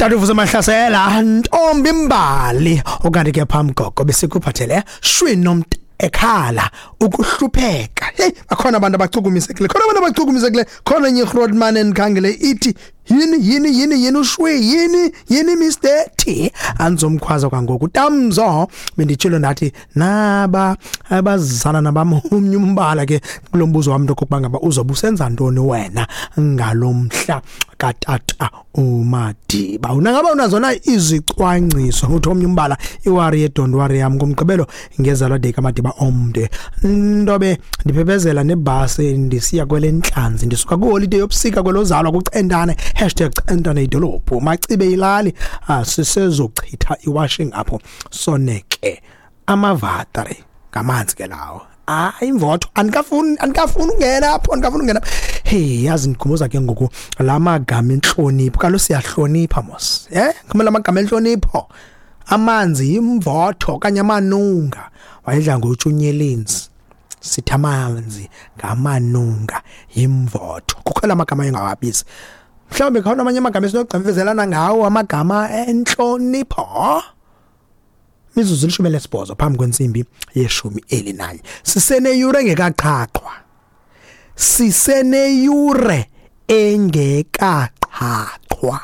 Tata uVusi Mahlasela, ntombi mbali, okanti ke phambi koko besikuphathele shwi nomntu ekhala ukuhlupheka. Hey, bakhona abantu abachukumisekile, khona abantu abachukumisekile, khona enye iGrootman endikhangele ithi yini yini yini yini ushwi yini yini Mr T andizomkhwaza kwangoku tamzo. Benditshilo ndathi naba abazana nabam omnye umbala ke kulo mbuzo wam into okokuba ngaba uzobe usenza ntoni wena ngalo mhla katata uMadiba. Unangaba unazo na izicwangciso? Uthi omnye umbala iwari ye-don't worry yam ngomgqibelo ngezalwa day kaMadiba omde, ntobe ndiphephezela nebhasi ndisiya kwelentlanzi, ndisuka kwiholide yobusika kwelozalwa kuCentane, #Centane idolophu, Macibe ilali, sisezochitha iwashing apho soneke amavatri ngamanzi ke lawo. Hayi imvotho, andikafuni, andikafuni ungena apho, andikafuni ungena. Hey, yazi ndikhumbuza ke ngoku la magama entlonipho, kaloku siyahlonipha mos, kumele amagama entlonipho. Amanzi yimvotho okanye amanunga, wayedla ngotsho unyelenzi, sithi amanzi ngamanunga yimvotho. Kukho la magama engawabizi, mhlawumbi khona amanye amagama esinogqimfizelana ngawo, amagama entlonipho. Mizuzu 18 phambi kwentsimbi ye-11, siseneyure engekaqhaqhwa, siseneyure engekaqhaqhwa.